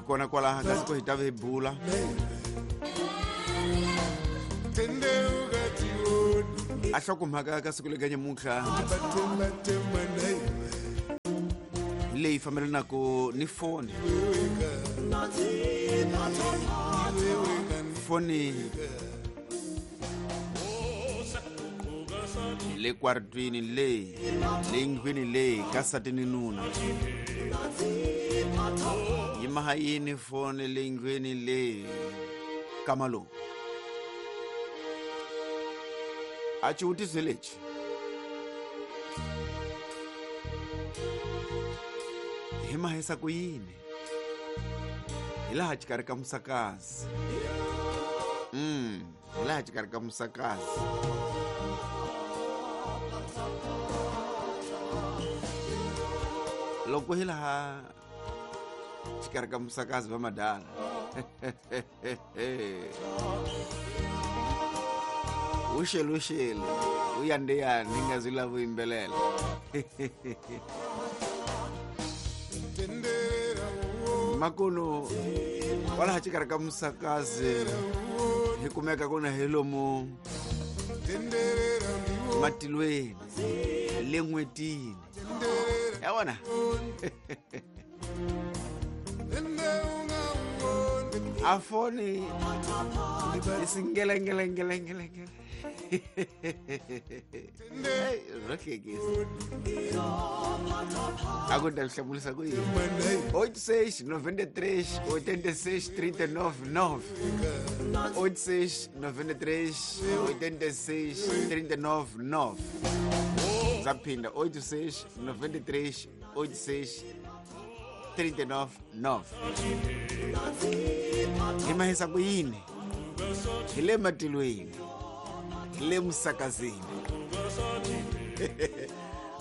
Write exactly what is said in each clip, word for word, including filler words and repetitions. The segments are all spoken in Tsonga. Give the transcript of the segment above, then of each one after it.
Kona kwalaha kasi ku hi ta ve hi bula. A hlokomhaka ka siku lega nyamuntlha leyi fambelanaka ni foni. Foni le kwartwini le le ndlwini le ka nsati ni nuna. Yi maha yini foni le ndlwini le ka malume? A xivutiso lexi hi mahisa ku yini hi laha xikarhi ka musakazi. Mm, hi laha xikarhi ka musakazi. Loko hi laha xikarhi ka musakazi va madala. Uxele uxele uyandeyani nga zwi lava yimbelela. Makuno kwalaha xikarhi ka musakazi hi kumeka ku na hi lomu matilweni le n'wetini ya vona. A foni isingele ngele ngele ngele ngele. Byo hlekisa. A ku ta hlamulisa ku yini? oito seis noventa e três oitenta e seis trinta e nove nove. oito seis noventa e três oitenta e seis trinta e nove nove. Zaphinda oito seis noventa e três oitenta e seis trinta e nove nove. Hi mahisa ku yini? Hi le matilweni, hi le musakazini.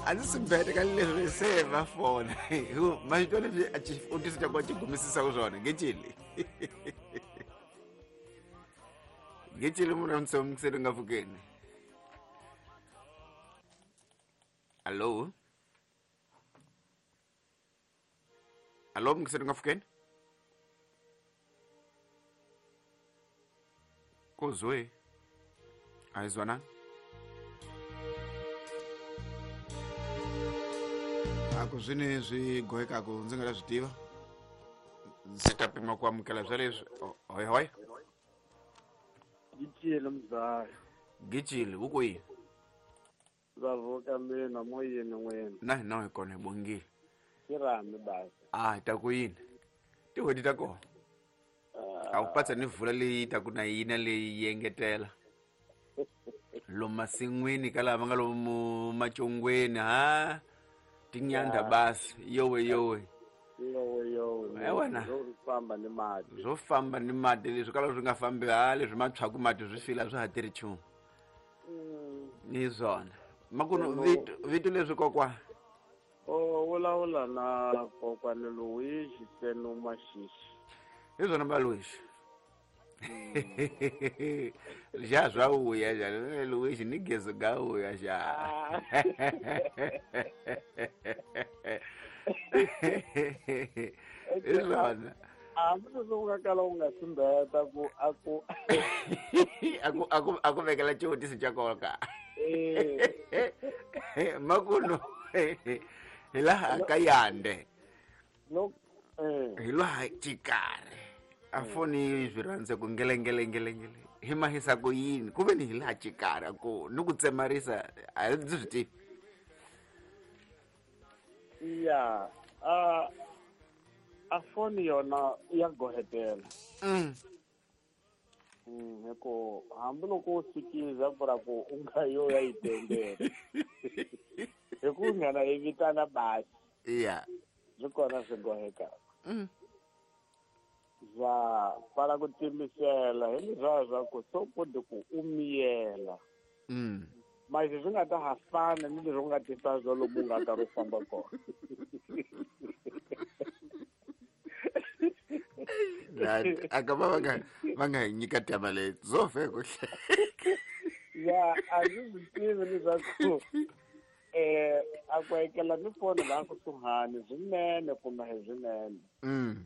A ndzi swi bete ka leswi se va fona. Hi ku ma swi twa leswi a xivutiso xa kona xi gumisisaka swona. Ngeceli. Ngeceli munhu a nga pfukeni. Allo? Allo, mngiseri nga pfukeni? Kozwe. Ayizwana? Aku swini swi gohekaku ndzi nga ta swi tiva. Ndzi ta pima ku amukela swa leswi. Hoi hoi. Gicile mzaya. Gicile wu kwihi? Ndza mina moyeni n'wina. Na hina hi kona hi bongile. Xirhami basi. Ah, ta ku yini? Tin'hweti ta kona. A wu patsa ni vula leyi ta ku na yina leyi yi engetela. Lomu masin'wini ka lava nga lomu macongweni ha tinyanda basi yowe yowe. Yowe yowe. Eh wena. Swo famba ni mati. Swo famba ni mati leswi kala swi nga fambi ha leswi matshwaku mati swi fila swi ha tirhi nchumu. Ni swona. Makuno vito vito leswi kokwa. O vulavula na kokwani Luigi Tseno Mashishi. Hi swona ba Luigi. Ja swa vuya ja Luigi ni gezo ga vuya ja. Hi swona. Hambi leswi u nga kala u nga simbeta ku a ku a ku a ku a ku vekela xivutiso xa nkoka. Makuno hi laha ka Yande. Hi laha xikarhi. A foni swi rhandza ku ngele ngele ngele ngele. Hi mahisa ku yini? Ku ve ni hi laha xikarhi ku ni ku tsemarisa a ndzi swi tivi. Ya, a a foni yona ya gohetela. Mm. Mm, hi ku hambi loko u sikiza ku ra ku u nga yo ya yi tendela. Hi ku nghena yi vitana basi. Ya. Swi kona swi gohekaka. Mm. Ya pfala ku timisela hi leswiya swa ku so koti ku u miyela. Mm. Manje swi nga ta ha fana ni leswi u nga tisa swo lomu u nga ta ri famba kona. Aka va nga va nga hi nyika taba leyi zo fe ku Ya a ndzi swi tivi leswaku eh a ku ekela ni foni laha kusuhani swinene kumbe hi swinene. Mm.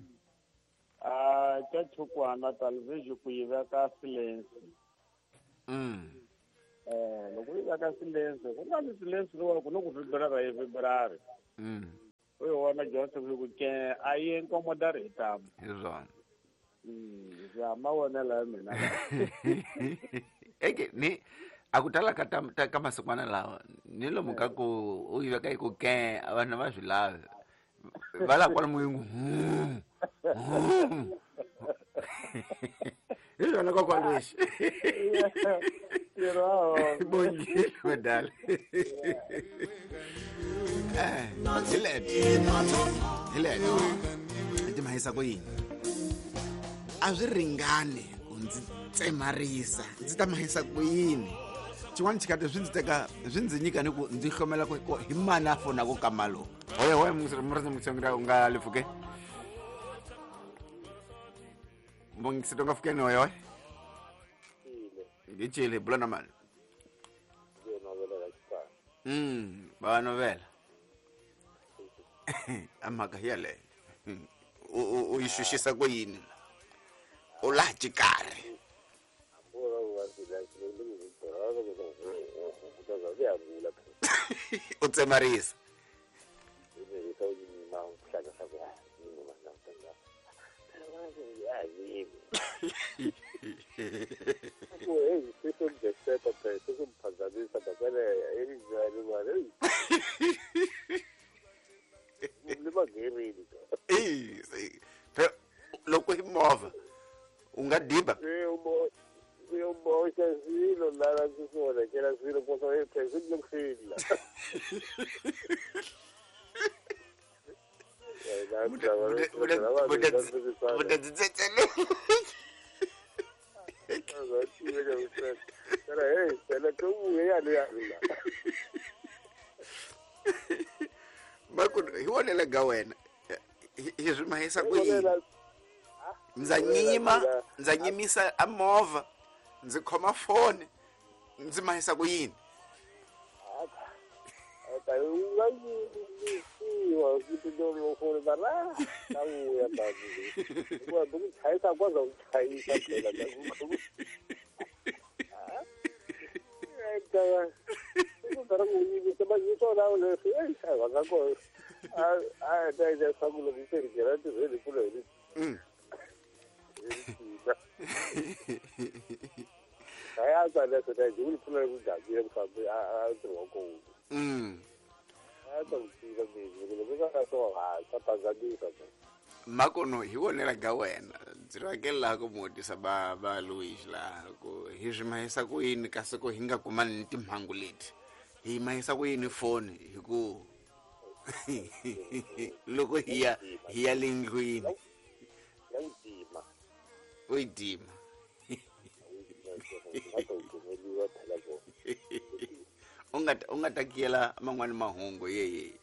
Chachukwana television ku yi veka silence. Mm. Eh loko yi veka silence ku nga ni silence lowu ku no ku vibrara yi vibrara. Mm. U yi vona Johnson ku ke a yi incomoda hi tamu. Hi swona. Mm, ya mavonelo ya mina. Eke ni a ku tala ka ta ka masikwana lawa ni lomu ka ku u yi veka yi ku ke vanhu va swi lavi. Va la kwala muyingu. Hi swona kokwani lexi. Bongile madala. Eh, hi leto. Hi leto. Ti mahisa ku yini? A swi ringani ku ndzi tsemarisa. Ndzi ta mahisa ku yini? Xin'wana xikati swi ndzi teka swi ndzi nyika ni ku ndzi hlomela ku hi mani a fonaka ka malo. Hoye hoye murindzi mutshengura u nga le pfukeni. Mbongisito nga pfukeni hoye hoye. Hi cile bula na mani. Mm, ba novela. A mhaka yeleyo. U u yi xuxisa ku yini? U laha xikarhi. U tsemarisa. Loko hi movha u nga diba. Hi vonela ga wena hi swi mahisa ku yini? Ndza nyima ndza nyimisa a movha ndzi khoma foni ndzi mahisa ku yini? Mm. Mm. Makono hi vonela ga wena ndzi rhangela ku mutisa ba ba Louis laha ku hi swi mahisa ku yini kasi ku hi nga kumani ni timhangu leti hi mahisa ku yini foni hi ku loko hi ya hi ya le ndlwini u yi dima u nga u nga ta kiyela man'wani mahungu yeye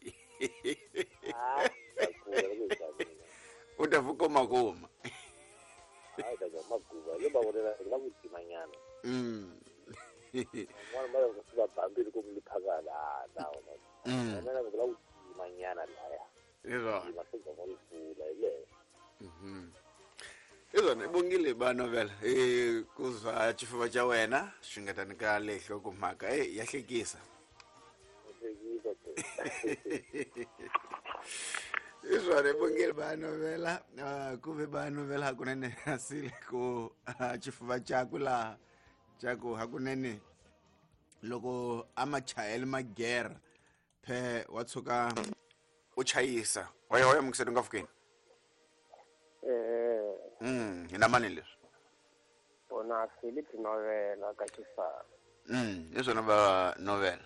u ta vukoma kuma mm mm Izona ibongile ba novela eh kuzwa xifuva xa wena swi nga ta nyika lehlo ku mhaka eh ya hlekisa. Izona ibongile ba novela ku ve ba novela hakunene asile ku xifuva xakwe laha xaku hakunene loko a machayele magera phe wa tshuka u chayisa hoya hoya mukiseti nga fukeni. Eh mm hi na mani leswi ona Philip novela ka xifana. Mm leswi va novela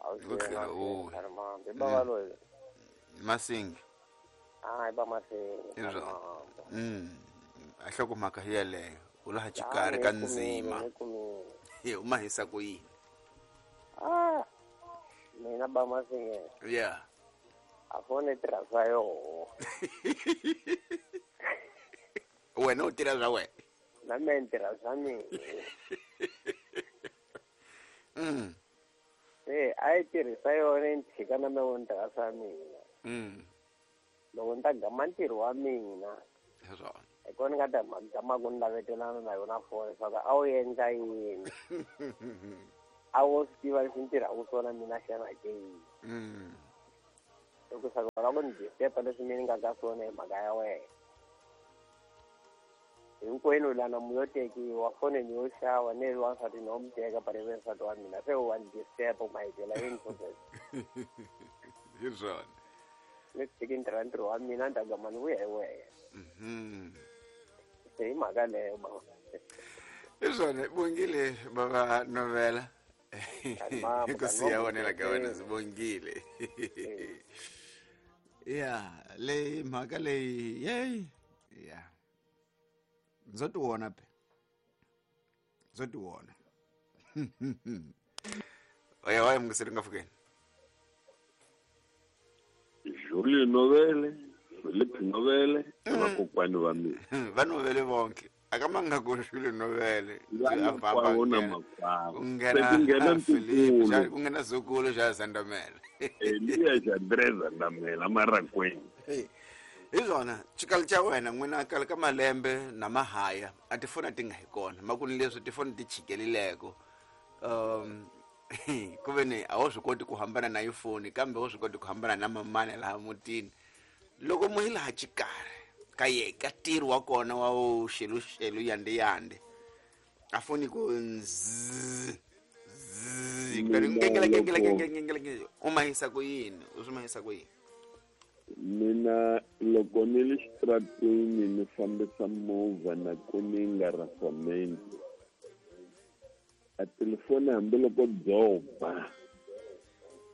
o ba loyi Masingi ah ba Masingi mm a hloko mhaka yeleyo u laha xikarhi ka ndzima hi u mahisa ku yini? Ah mina ba Masingi yeah a fone tirha swa yoho. Wena u tirha swa wena na mina ni tirha swa mina. Mm se a yi tirhisa yona ni tshika na mina ni tirha swa mina. Mm loko ni ta gama ntirho wa mina Hi swona. Hi kona ni nga ta gama ku ni lavetelana na yona foni leswaku a wu endla yini. A wo swi tiva leswi ni tirhaka swona mina xana ke yini. Mm. Loko swa ku lava ku ni disturb leswi mina ni nga ka swona hi mhaka ya wena. Hinkwenu lana mu yo tekiwa foni ni yo xava ni ri wansati no mi teka but ivi nsati wa mina se wa ni disturb ma hi byela yini process. Hi swona. Ni tshiki ntirha ntirho wa mina ni ta gama ni vuya hi wena. Mhm. Se hi mhaka leyo baba. Hi swona bongile baba Novela. Mama, Hi ku siya mama, wona la ka wena eh. sibongile. Ya, leyi mhaka leyi yeyi. Ya. Ndzo ti vona pe. Ndzo ti vona. Oya oya mungiseri nga fukeni. Julie Novele, Philip Novele, vakokwani va mina. Va Novele vonke. Akamanga ku Julie Novele. Vamakwavo na makwavo. Ku Se nghena ku nghena Philip, ntukulu. xa- ku nghena Zukulu xa Zandamela. Eliya Xandre Zandamela Marakweni. Hey, hi swona xikalo xa wena n'wina kale ka malembe na mahaya a tifoni a ti nga hi kona makuni leswi tifoni ti chikelileko um ku ve ni a wu swi koti ku hambana na ifoni kambe wu swi koti ku hambana na mamani laha mutini loko mu yi laha xikarhi ka ye ka ntirho wa kona wa wu xeluxelu yande yande a foni ku nzzz zzz kutani Mina ngengele ngengele loko- ngengele ngengele ngengele u mahisa ku yini u swi mahisa ku yini. Mina loko ni le xitarateni ni fambisa movha na ku ni nga rafamenti a telefoni hambiloko byo ba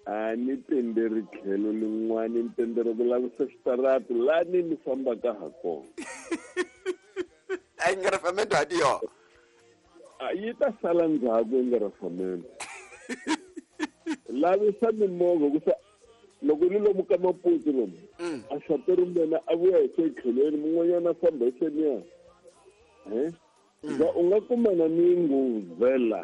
a ni tenderi tlhelo lin'wani ni tenderi ku lavisa xitarati lani ni fambaka ha kona. A yi nga rafamento ha ti yona. A yi ta sala ndzhaku yi nga rafamento. Lavisa mimovha ku sa loko ni lomu ka Maputo lomu Mm. a xateri mina a vuya hi se tlhelweni mun'wanyana a famba hi seniya eh za u nga kumana ni nguvela.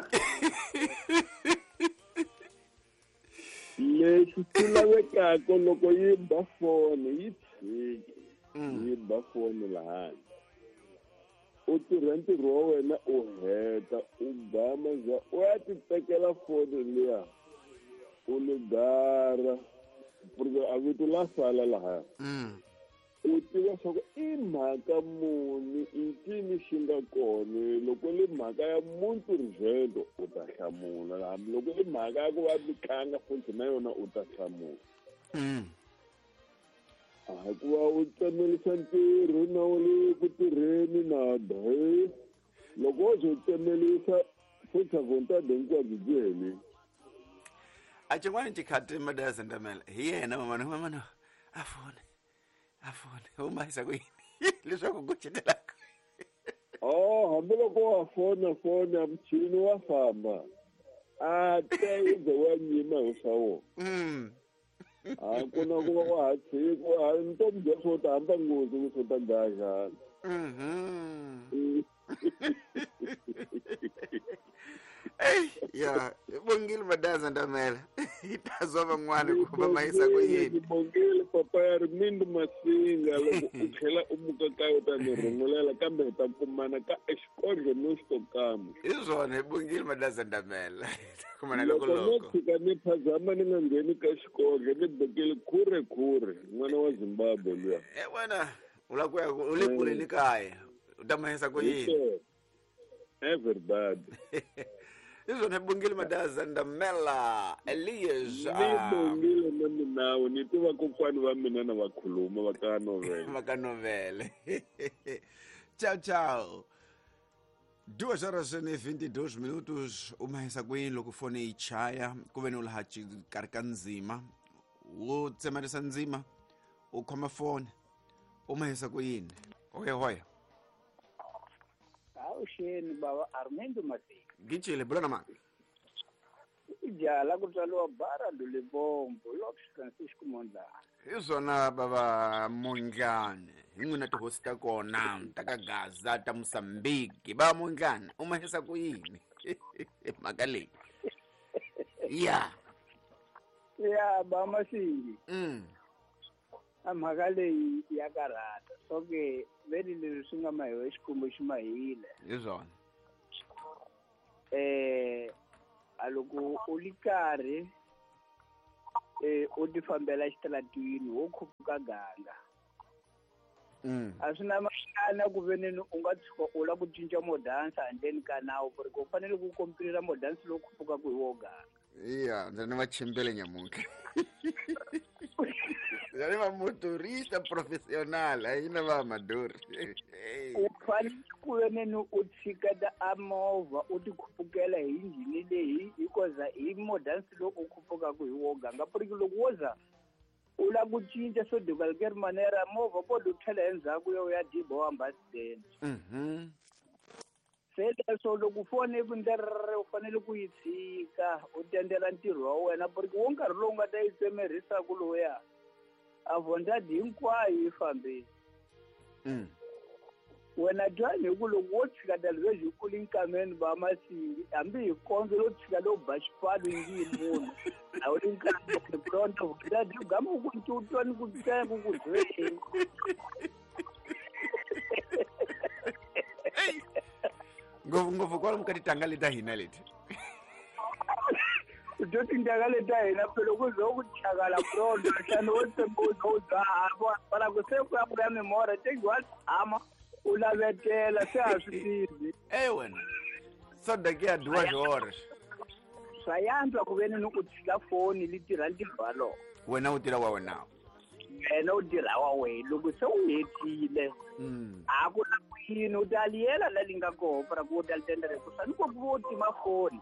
Leswi swi lavekaka loko yi ba foni yi tshiki yi ba foni lahani u tirha ntirho wa wena u heta u gama za u ya ti tekela foni liya u ligara porque a vito la sala lahaya. Mm. U tiva swa ku i mhaka muni i ncini xi nga kona loko li mhaka ya muntu rizendo u ta hlamula hambi loko i mhaka ya ku va mi tlanga futhi na yona u ta hlamula. Mm. A hikuva u tsemelisa ntirho na u le ku tirheni na he loko wo ze u tsemelisa futhi a vontade hinkwabyo byi helile. A xin'wana xikhati Madaya Zandamela hi yena mamana mamana a fone a fone u mahisa ku yini leswaku ku cetelaka. Oh hambiloko wa fona fona muchini wa famba a te u ze wa nyima hi swa wona. Mm. A ku na ku va wa ha tshiki a ntomi bya swo ta hamba nghozi ku swo ta dlaya xana. Mhm. Ey, ya, bongile Madaya Zandamela. Hi ta zwa van'wana ku va mahisa ku yini. Bongile papa ya ri Mindu Masinga loko u tlhela u muka kaya u ta ni rhungulela kambe hi ta kumana ka exikodlo no xitokama. Hi swona hi bongile Madaya Zandamela. Kumana loko Loko no loko. tshika ni phazama ni nga ngheni ka xikodlo ni bekele khure khure n'wana wa Zimbabwe luya. Eh wena u la ku ya u le kule ni kaya. U ta mahisa ku yini. Everybody. Hi swona hi bongile Madaya Zandamela Elias. Ni ah, bongile na minawu ni tiva kokwani va mina na va khuluma va ka Novele. Va ka Novele. Tchau, tchau. Duas horas e vinte e dois minutos. U mahisa ku yini loko foni yi chaya ku ve ni u laha xikarhi ka ndzima wo tsemarisa ndzima u khoma foni u mahisa ku yini. Hoya hoya. Avuxeni baba Armando Masinga. Gicile bula na mani. Ijala ku tswariwa bara Lulebombo Lopes Francisco Mondlane. Hi swona baba Mondlane hi n'wina tihosi ta kona ta ka Gaza ta Mozambique baba Mondlane u mahisa ku yini mhaka leyi. Ya. Ya ba Masingi. Mm. A mhaka leyi ya karhata. Okay, veli leswi swi nga mahiwa xikwembu xi mahile. Hi swona. Eh a loko u li karhi eh u ti fambela xitaratini wo khuphuka ganga. Mm. A swi na maxana ku veneni u nga tshuka u lava ku cinca modansa handleni ka nawu ku ri ku fanele ku kompirela modansi lowu khuphukaku hi wo ganga. Iya, ndzi ni va chimbele nyamuntlha. Ndzi ni va motorista professional, a yi na va amador. U fanele ku veneni u tshiketa a movha u ti khupukela hi injhini leyi hikuza hi modansi lowu u khuphukaku hi wo ganga. Ku ri loko wo za u lava ku cinca swo de qualquer manera movha ko u tlhela endzhaku ya u ya diba wa hamba accident. Mhm. Se leswo loko foni ku ndlerere u fanele ku yi tshika u tendela ntirho wa wena ku ri wo nkarhi lowu nga ta yi tsemerisaka lowuya a vondadi hinkwayo yi fambile. Mm. Wena twani hi ku loko wo tshika dalivezi yi kula nkameni va masingi hambi hi kondzo lo tshika lo ba xipfalo yi ngi yi munhu a wu li nkameni pronto vondadi yi gama ku u twa ni ku tsenga ku dweni. Ngopfu ngopfu kwalomu ka titanga leti ta hina leti. U twa tintangha leti ta hina phela ku ze ku chakala pronto nhlano wo tsemba u ze u dzaha fana ku se ku ya ku ya mimora tengi wa tshama u lavetela se a swi tivi. Eh wena. Só daqui a duas horas. Swa yantswa ku veni ni u tshika foni li tirha ntirho walowo. Wena u tirha wa wena. Wena u tirha wa wena loko se u hetile. Mm. A ku na ku yini u ta liyela la li nga koho para ku u ta li tendela ku swa ni ku u tima foni.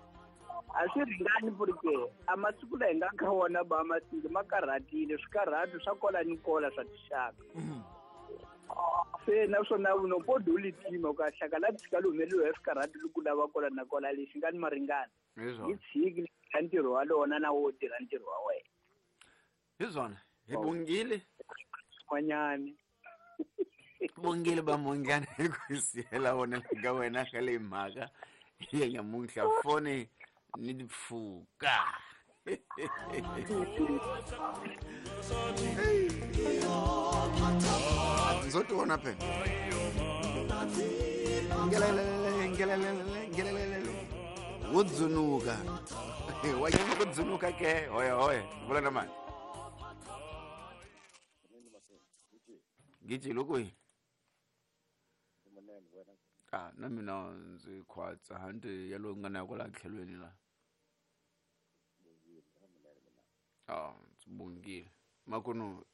A swi ringani porque a masiku laha hi nga ka wona ba masiku ma karhatile swikarhati swa kola ni kola swa tixaka. Se naswona no podi u li tima ka hlaka la tshika li humeliwe hi swikarhati loko lava kola na kola lexi nga ni maringani. Hi Yi tshiki li ntirho wa lona na wo tirha ntirho wa wena. Hi swona. Hi bongile. N'wanyani. Bongile ba mongana hi ku siyela wona ka wena ka leyi mhaka ya nyamuntlha foni ni pfuka. Ndzo ti vona phela. Ngelelele ngelelele ngelelele. Wo dzunuka. Wa nyama ku dzunuka ke hoya hoya. Vula na mani. Giji loko yi. Ah, na mina ndzi khwatsa hanti ya lowu nga na kwala tlhelweni la. Ah, ndzi bongile. Makunu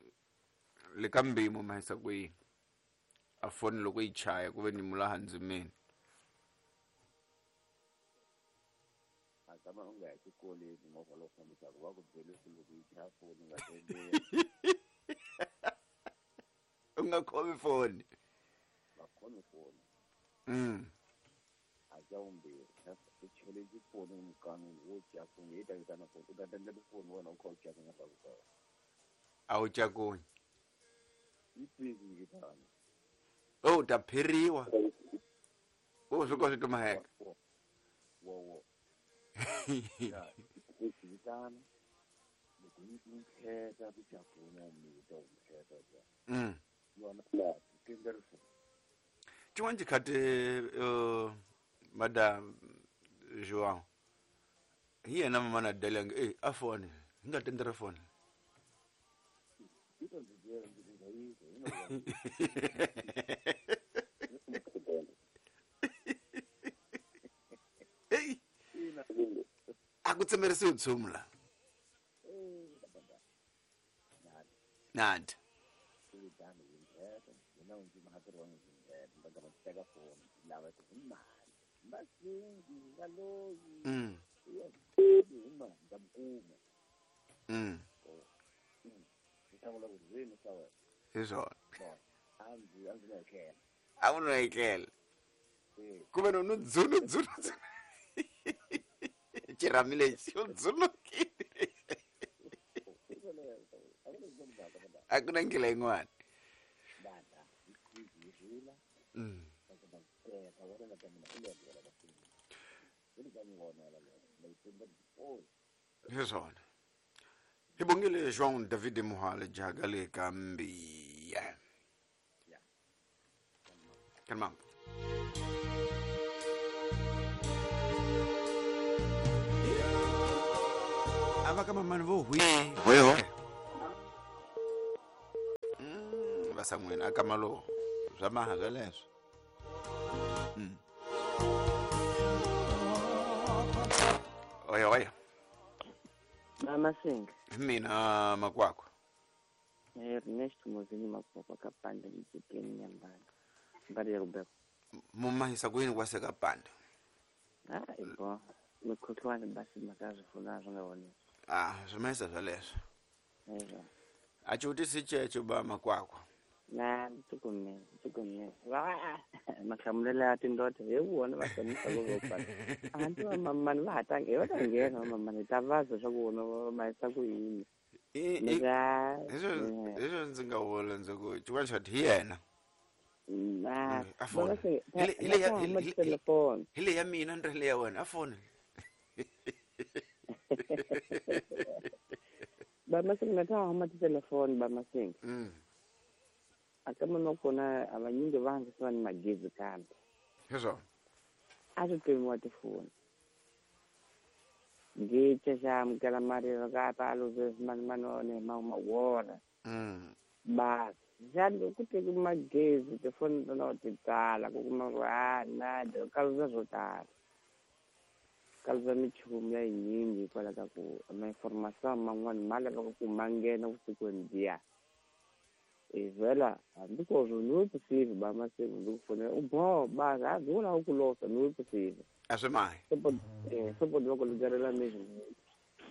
le ka mbimo ma hisa ku yini? A foni loko yi chaya ku ve ni mulaha ndzimeni. A tshama u nga ya xikolweni movha lowu fambisaka va ku byele ku loko yi chaya foni u nga tendeli. U nga khomi foni. Va khomi foni. Mm. A xa vumbirhi u chele foni emukan'wini wo cakunya yi ta vitana foni u ta tendela foni wena u kha u cakunya swa ku tala. A wu cakunyi. Yi busy yi vitana. Oh, u ta phiriwa. O swi ka swi tumaheka. Wo wo. Ya, yi vitana. Loko yi nkheta ku cakunya mi ta nkheta ja. Mm. Yona la tendela foni. Xin'wana xikhati uh, madam João hi yena mamana Delange eh a foni hi nga tendera foni. Yi ta ndzi byela ndzi ku nga yi Hey a ku tsemerisiwi nchumu la. Nandi. Mm. Mm. Hi swona. A wu no etlela. Ku ve no no dzunu dzunu dzunu. Xirhami lexi u dzunukile. A ku na ndlela yin'wana. Mm. Hi swona. Hi bongile João David Muhale jaga le ka Mbiya. Kanmambo. Ava ka mamani vo hwi. Hoyo. Mm, va san'wini aka malo swa maha swa leswo. Mm. Oya oya. Mama Singa. Mina makwakwa. Ernesto Mozini makwakwa kapanda mjikeni nyambana. Mbali ya Rubeko. Mumahisa kwini kwase kapanda. Ah, ibo. Mikhuhlwane basi makazi funa zvingaoneki. Ah, zvimahisa zwa leswo. Ezo. Achuti sichecho ba makwakwa. Na tukume, tukume. Wa makamlela ya tindoda hi wona va hlamusa ku vo Antu va mamani va ha tanga va ta nghena va mamani ta vaza swa ku vona va mahisa ku yini. I Ni nga Hezvo hezvo ndzi nga vula ndzi ku xin'wana xa hi yena. Na A fona. va se Hi le- hi le ya- hi le- hi le- telefoni. Hi le ya mina ni ri le ya wena a foni. Ba masinga na ta huma titelefoni ba masinga. Mm. Aka munhu kona a vanyingi va hangisiwa ni magezi kambe. Hezvo. A swi pimiwa tifoni. Ngiche xa amukela marilo ka pa luze mani mani ma ma wona. Mm. Basi xa loko ku teki magezi tifoni tona ti tala ku kuma ku a na ka luza swo tala. Ka luza minchumu ya yinyingi hikwalaho ka ku ma-information man'wani ma lavaka ku ma nghena vusikwini byiya. E vhela hambi ko swo ni vusiku ba masiku ndzi ku fonela u boho basi a byi vula ku losa ni vusiku. A swi mahi. Support eh support va ku lugerela mesmo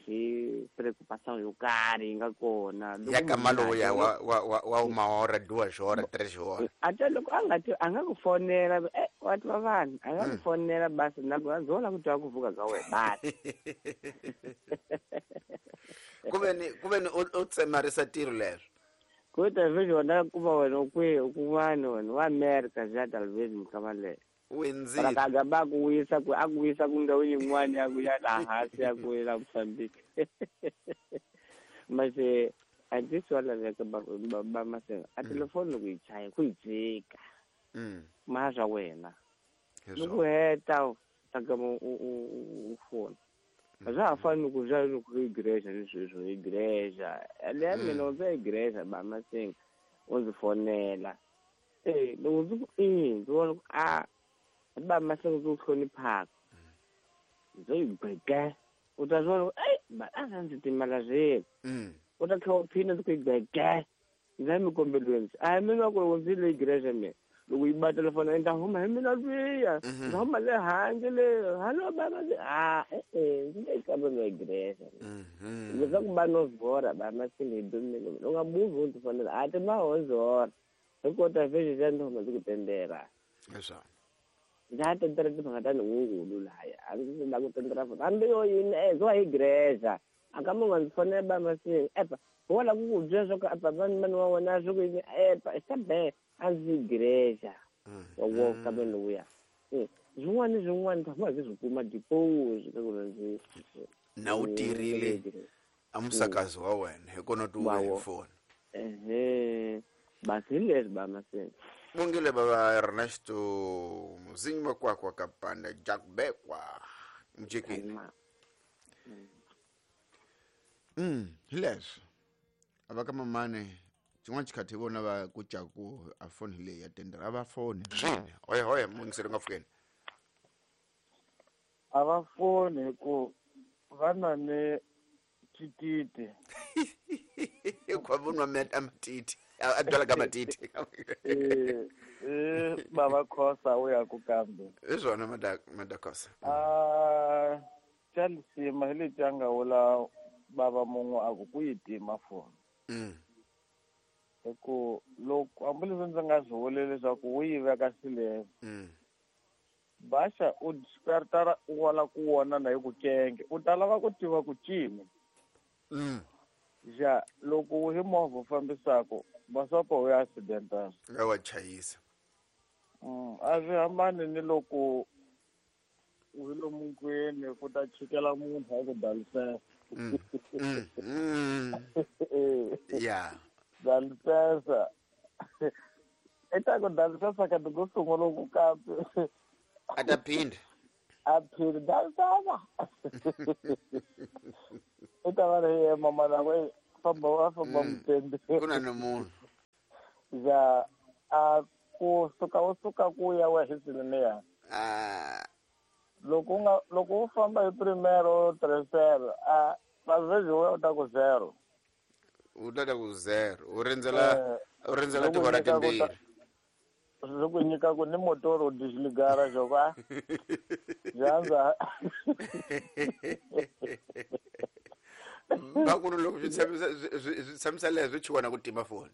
hi preocupação yo karhi yi nga kona. Loko Ya ka munhu maloya a wa wa wa wa uma hora duas horas três horas. Ate loko a nga ti a nga ku fonela eh wa twa vanhu a nga ku fonela basi na ku zola ku twa ku vuka ka wena basi. Kuve ni kuve ni u tsemarisa tiro leswo. Ku ta vejo na ku va wena u kwihi u kun'wana wena wa America ja talvez mukama leyo. Wenzile. Para kaga ba ku wisa ku a ku wisa ku ndhawu yin'wana ya ku ya laha hansi ya ku ya Mozambique. Mase a ndzi swa laveka ba ba masenga a telefoni loko yi chaya ku yi jika. Mm. Ma swa wena. Hezvo. Loko heta u ta gama u u u fona. A swa ha fani ku swa loko i igreja ni sweswo igreja. Le mina u ndzi igreja ba masenga u ndzi fonela. Eh loko ndzi ku i ndzi vona ku a ba masenga ku hloniphaka. Ndzo yi gweke. U ta vona ku ei ba a ndzi timala zeni. Mm. U ta tlhela u phina ndzi ku yi gweke. Ndzi ya mikombelweni. A hi mina ku loko ndzi le igreja mina. Loko yi ba telefoni ndza huma hi mina lwiya. Ndza huma le handle le. Hallo baba ah eh eh ndzi le kambe la igreja. Mhm. Leswaku va no zora ba masenga hi dumile. U nga buvi u ndzi fonela a ti ma ho zora. Hi kota vhele xa ndzi huma ndzi ku tendera. Hezvo. Ndza ha tendera timhaka ta nhungulu laya. A ndzi la ku tendera futhi. Hambi yo yini eh zo hi igreja. A ka munhu ndzi fonela ba masenga. Epa wo la ku ku byela swa ku apa mani mani wa wena swi ku yini epa i be a ndzi igreja. Wa wo kambe lowuya. Eh swin'wana ni swin'wana tshama ndzi swi kuma deposit ka ku ndzi Na u tirhile a musakazi wa wena hi kona tu Wa hi wo. foni. Ehe basi hi leswi ba masenga. Bongile baba Ernesto Muzinyi makwakwa kapanda Jack Bekwa mjikini. Mm, hi leswo. A va ka mamani xin'wana xikhathi hi vona va ku caku a foni hi leyi ya tendera a va foni swini hoye hoye mungiseri nga pfukeni. A va foni hi ku va na ni tititi. Hikuva vo nwa a matiti a byala ka matiti. Eh eh baba Khosa u ya ku kambe. Hi swona Madakosa. Ah xa lisima hi leti a nga vula baba mun'we a ku ku yi tima foni. Mm. Hi ku loko hambileswi ndzi nga swi vuli leswaku wu yi veka silence. Mm. Baxa u ta u wala ku vona na hi ku kenge u ta lava ku tiva ku cini. Mm. Ja loko hi movha u fambisaka basopo u ya accidentana. Nga wa chayisa. Mm, a swi hambani ni loko u hi lomu nkwini ku ta chikela munhu a ku dalisela. Mm. Mm. Mm. Yeah. Dalisela. I ta ku dansa sakati ku sungula ku kapi a ta phinda a phiri dansana i ta va ri ye mama na ku famba wa famba mutende ku na ni munhu ja a ku suka u suka ku ya wa hisiliniya ah loko u nga loko u famba hi primero tercero a vavezi u ta ku zero u ta ta ku zero u rindzela u rindzela tihora timbirhi swi ku nyika ku ni motor u dixligara xo va dyandza va ku loko swi tshamisa swi tshamisa leswi chuka na ku tima foni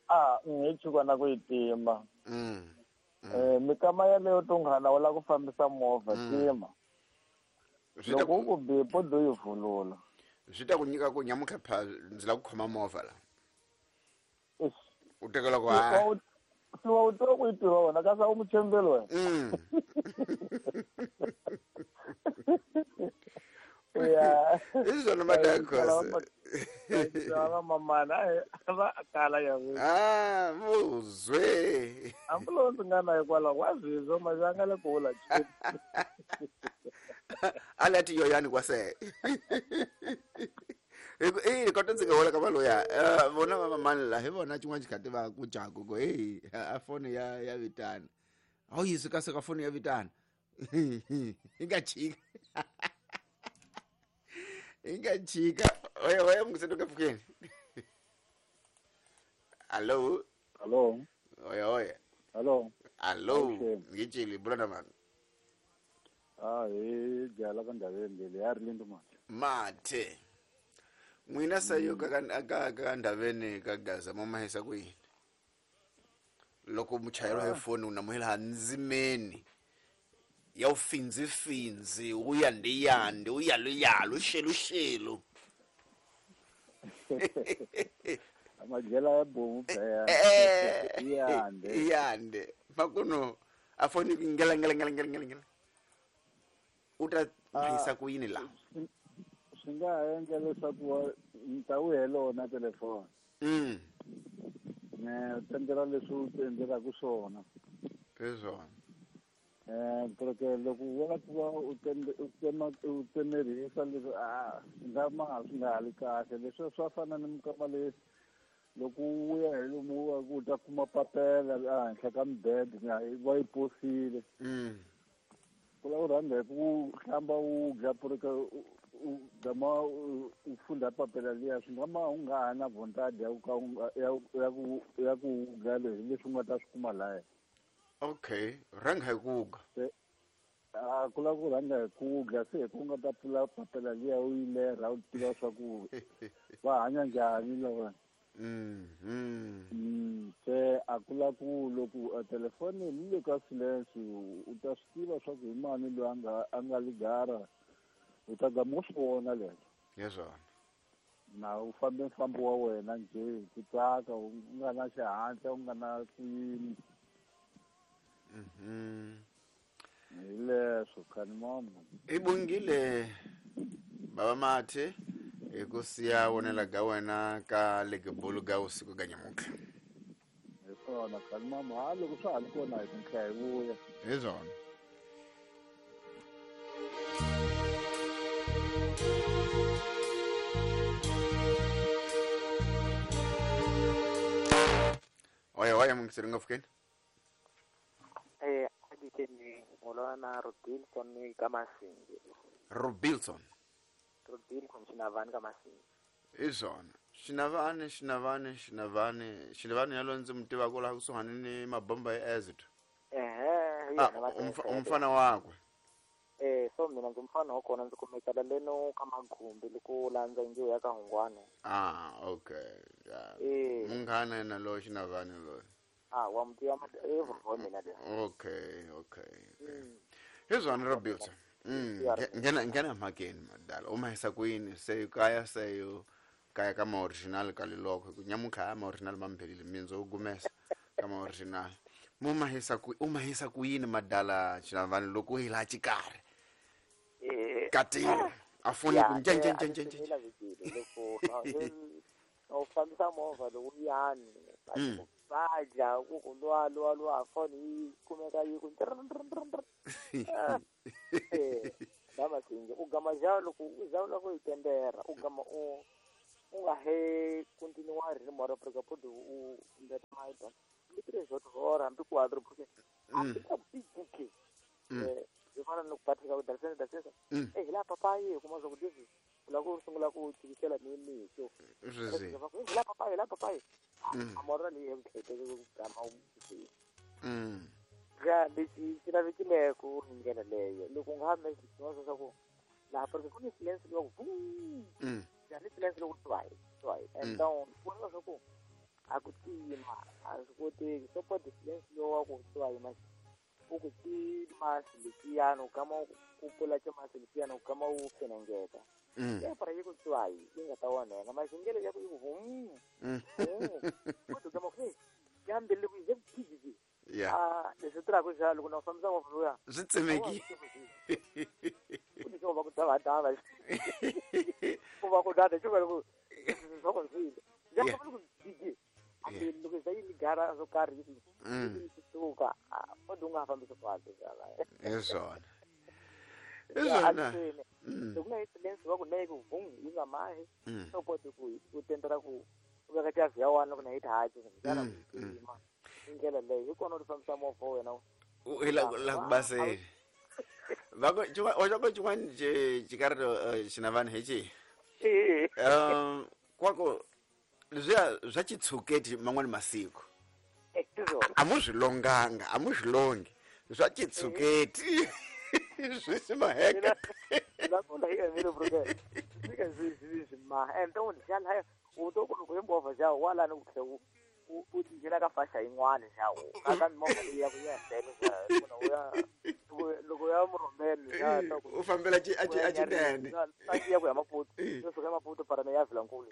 a hi chuka na ku yi tima mm eh mikama yaleyo tunghana u lava ku fambisa movha tima loko u ku bipo do yi vulula swi ta ku nyika ku nyamutlha pha ndzi lava ku khoma movha la u tekela ku ha siwa u tiva ku yi tiva wena kasi a wu mutshembeli wena ya i swona madakhosi va mamana va kala ya ah muzwe hambi ndzi nga na hikwalaho wa zwizwo mazanga le ku vula alati yoyani kwase i kota ndzi nga hola ka valoya vona va mamani la hi vona xin'wana xikhati va ku jaku ku hey a foni ya ya vitana a wu yisi kasi ka foni ya vitana yi nga chika yi nga chika oya oya mungiseni ka pfukeni allo allo oya oya allo allo ngitshili bula na mani ah hi jala ka ndhaveni leyi ya ri lindo mati mathe n'wina sayo ka ka ka ndhaveni ka Gaza mo mahisa ku yini loko muchayeri wa foni u namuhela ndzimeni ya u finzi finzi u yande yande u yalu yalu xelu xelu amajela ya bomu phela yande yande makuno a foni ngela ngela ngela ngela ngela u ta mahisa ku yini la swi nga ha endla leswaku ni ta wu helona telefoni mm ne u tendela leswi u ti endlelaka swona hi swona eh porque loko u vona ku va u u tsema u tsemerisa leswi a swi nga ma swi nga ha li kahle leswi swa fana ni mikama leyi loko u ya hi lomu u ta kuma papela ehenhla ka mibede va yi posile mm ku lava u rhanga hi ku hlamba u dya porque u gama u funda papela liya swi nga ma u nga ha na vontadi ya ku ka ya ku ya ku dya leswi leswi u nga ta swi kuma laya okay rhanga hi ku ga a ku lava ku rhanga hi ku dya se hi ku nga ta pfula papela liya u yi lerha u tiva swa ku va hanya njhani lava mm mm se a ku la ku loko telefoni yi le ka silence u ta swi tiva swa ku hi mani loyi a nga a nga ligara u ta gama u swi vona leswo hi swona na u fambe mfambo wa wena njhe hi ku tsaka u nga na xihatla u nga na ku yini mhm hi leswo khani mama i bungile baba mathe hi ku siya vonela ga wena ka legebulu ga usiku ga nyamutlha hi swona khani mama ha loko swa ha ri kona hi ta tlhela hi vuya hi swona oya oya mungiseri nga pfukeni eh adikeni ngolwana Robinson ka Masingi Robinson Robinson Xinavani ka Masingi hi swona Xinavani Xinavani Xinavani Xinavani yalo ndzi mu tivaka laha kusuhani ni mabomba ya acid ehe ah umfana wakwe eh so mina ndzi mfana wa kona ndzi kumekela leno ka Magumbi loko landza njiwo ya ka Hungwane ah okay yeah eh munghana yena loyi Xinavani loyi ah wa muti wa eh wa mina le okay okay okay hi swona Robinson mm ngena ngena mhakeni madala u mahisa ku yini se kaya se yo kaya ka ma original ka liloko ku nyamutlha ma original mambhelile mindzo u gumesa ka ma original mo mahisa ku u mahisa ku yini madala Xinavani loko hi laha xikarhi eh katini a foni ku nje nje nje nje nje loko u fambisa movha loko yani Baja ku ku lwa lwa lwa phone yi kumeka yi ku eh dama singe u gama ja loko u za loko yi tendera u gama u u nga he continue ri mora porque pode u ndeta maita ndi zwo tora hambi ku adro porque a ka big eh zwi fana no kupatika ku darsena darsena eh la papai kuma zwo kudizi la ku sungula ku tikisela ni mixo la papai la papai amora li hemkhete ku gama u mm ga lexi xi lavekile ku hi ndlela leyo loko u nga ha swin'wana swa ku laha porque ku ni silence loko ku ya ni silence loko twayi twayi and down ku na swa ku a ku tima a swi koteki so po silence lowa ku twayi ma u ku tima lexiyana u kama ku pfula ximasi lexiyana u kama u fenengeta ya para yi ku twayi yi nga ta onheka maxingelo ya ku yi ku vum u kama ku ya mbele ku yi ku Yeah. Ah, leswi tirhaka xa loko na u fambisa movha luya swi tsemeki ku ni xo va ku dava dava ku va ku dada xo va ku swa ku swi ya ku ku dije ambe loko za yi gara swo karhi yi suka o dunga fambisa kahle xana hi swona hi swona loko na silence va ku na ku vum yi nga mahi so poti ku ku tendera ku u veka chavi ya wena loko na yi thaci xana ku yima ndlela leyi hi kona u fambisa movha wena u la la ku basele va ku wa ku xin'wana xikarito xinavani hi xihi um kwako leswiya swa xitshuketi man'wani masiku a mu swi longanga a mu swi longi swa xitshuketi swi swi maheka la hi emile porque fika swi swi swi ma ende u xana u to ku loko hi movha xa wala ni ku tlhe u u tinghena ka fasha yin'wana xa u ka movha leyi ya ku ya ndlela xa loko ya loko ya murhumeli xa u fambela ci a ci a cinene a ya ku ya Maputo yo suka Maputo para na ya Vilankulu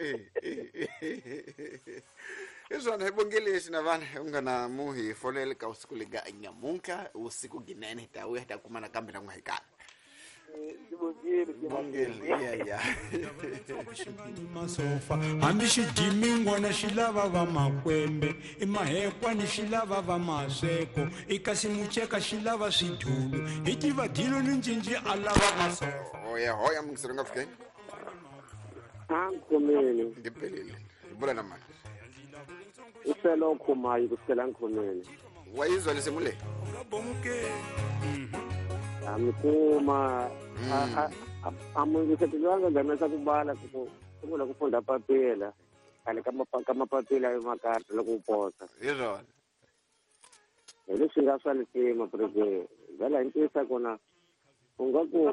hi swona hi bongele xinavana u nga na mu hi fonele ka usiku lega nyamuntlha usiku ginene hi ta vuya hi ta kuma nakambe na n'we hi kala masofa hambi xidimingwana xi lava va makwembe i mahekwani xi lava va masweko i kasi muceka xi lava swidulu hi tiva dilo ni ncinci a lava masofa hoya hoya mungiseri nga fikeni a nkhomeni ndi pelile hi bula na mani i fela u khomayi ku fikela nkhomeni wa yizwa lesimu leyi amikuma amungisetelwanga gamesa ku bala ku sungula ku funda papila khale ka ka mapapila yo makarata loko u posa hi swona hi leswi nga swa lisima porque vhela hi ntiyisa kona u nga ku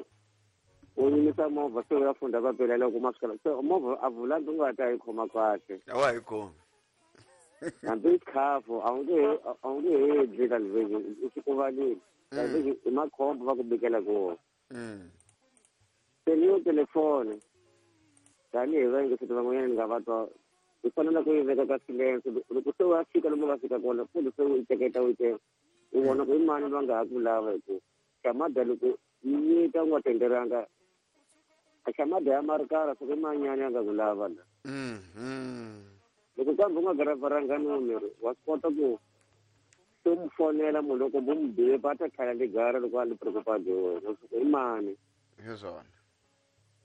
u yimisa movha se u ya funda papila loko ma sukela se movha a vulandi u nga ta yi khoma kahle a wa hi khomi hambi khafu a wu nge a wu nge he dli ka liveki u swi kuvalile i makhombo va ku bikela kona se ni yo telefoni tanihi vayingiseti van'wanyana ni nga va twa hi fanele ku yi veka ka silence loko se wa fika lomu va fika kona futhi se u yi teketa u yi teka u vona ku i mani va nga ha ku lava hi ku xamada loko yi nyika u nga tenderanga a xamada ya marikara soko i manyani ya nga ku lava la loko kambe u nga garavaranga numero wa swi kota ku se mu fonela munhu loko bo mu bipa a ta tlhela ligara loko a li preocupado wena soko i mani hi swona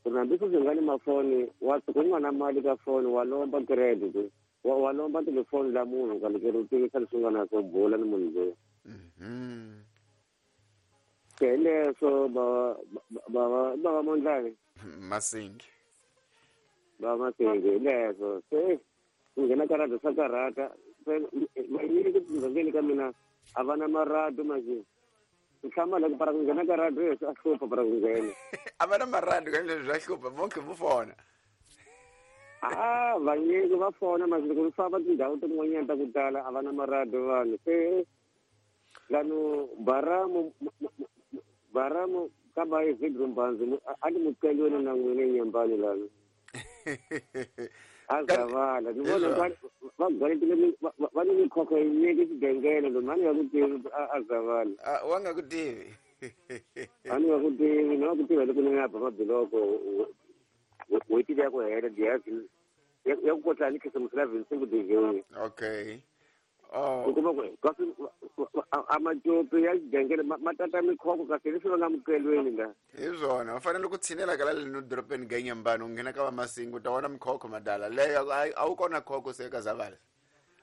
ku ri hambi sweswi nga ni mafoni wa suka u nga na mali ka foni wa lomba credit wa wa lomba telefoni la munhu ka loko u tivisa leswi nga na swo bula ni munhu loyi se hi leswo ba ba ba va mondlani Masingi ba Masingi hi leswo se ku nghena ka radio swa karhata vanyingi timugangeni ka mina a va na marado manje nhlama loko para ku nghena ka radio swa hlupha para ku nghena a va na marado ka leswi swa hlupha vonke vo fona a vanyingi va fona manje loko ni famba tindhawu tin'wanyana ta ku tala a va na marado vanhu se lano baramu baramu ka ba yi vidro mbanzi a ni muceliweni na n'wina enyambani lano azavala ni vona va gwaletile va ni mikhokho yinyingi xigengele lomu a ni nga ku tivi azavala wa nga ku tivi a ni nga ku tivi ni nga ku tiva loko ni nga ba mabiloko n'hweti leyi ya ku hela diyazi ya ku kotla ni khisimusi la vinsingu dijeyi okay Oh. U kuma ku kasi a macopi ya xigangele ma tata mikhoko kasi leswi va nga mukelweni la. Hi swona, va fanele ku tshinela ka la leno dorobeni Ganyambani, u nghena ka vamasingu, u ta vona mikhokho madala leyo. A wu kona khokho se ka Zavala,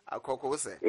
a khokho wu se.